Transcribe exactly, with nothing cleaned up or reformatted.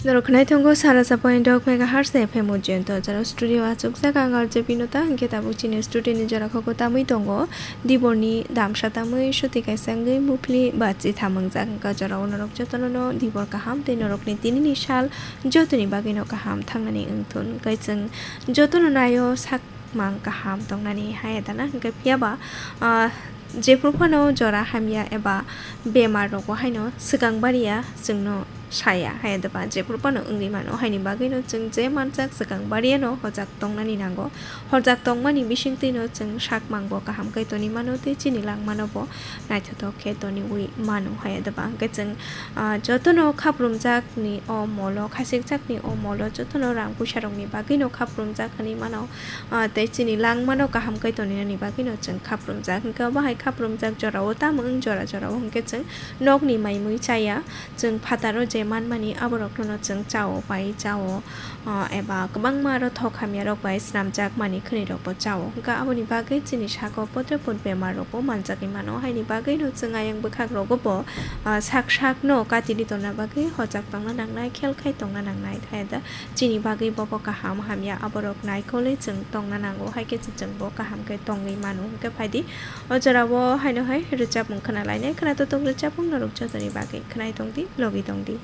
Norok khwnai tongo sara sa point dok megahertz F M Ujjain to jora studio achukjak ang R J Pinota, hwnkhe tabuk chini studio ni jora kho tamwi tongo. Diborni damsa tamwi suti kaisa wngwi muphli bachi thamungjak, hwnkhe jorao norok jotono no dibor kaham tei norokni tinini sal jotoni bagwino kaham thangnani wngthun. Hwnkhe chwng jotono naio sak mang kaham tongnani hai dana, hwnkhe phiyaba, ah, jephru phano jora hamya eba bemar rogo haino swkang bariya chwngno saya hai daba, jephru phano wngwi mano, haini bagwino chwng je manjak swkang bariyano hojak tongnani nango. Hojak tongmani bisingtwino chwng sak mangbo kaham khe toni mano tei chini langmano bo naithothok khe toniwi mano hai daba. Hwnkhe chwng, ah, jotono khaprumjakni o molo, khachikjakni o molo jotono rang puisa rokni bagwino khaprumjak hinwi mano. Ah, tei chini langmano kaham khe tonina ni bagwino chwng khaprumjak. Hwnkhe obo hai khaprumjak jorao tamo wng jora jorao hwnkhe chwng nokni maimui chaya, chwng phataro je manmani aborokno chwng chao, pai chao, ah, eba kwbangma aro thok hamya rok bai swnamjak mani khwnwi rokbo chao. Hwnkhe aboni bagwi chini sago potre pot bemar rokbo manjagwi mano. Haini bagwino chwng ayang bwkhak rogo bo, ah, sak sakno katili tongna bagwi hojak tongna nangnai, khel khai tongna nangnai. Thai da chini bagwi bobo kaham hamya aborok naikolwi chwng tongna nango, hai khe chwng bo kaham khe tongwi mano. Hwnkhe phaidi o jorao haino hai rwchapmung khna lainai, khna totok rwchapmung norok jotoni bagwi khwnai tongdi, logi tongdi.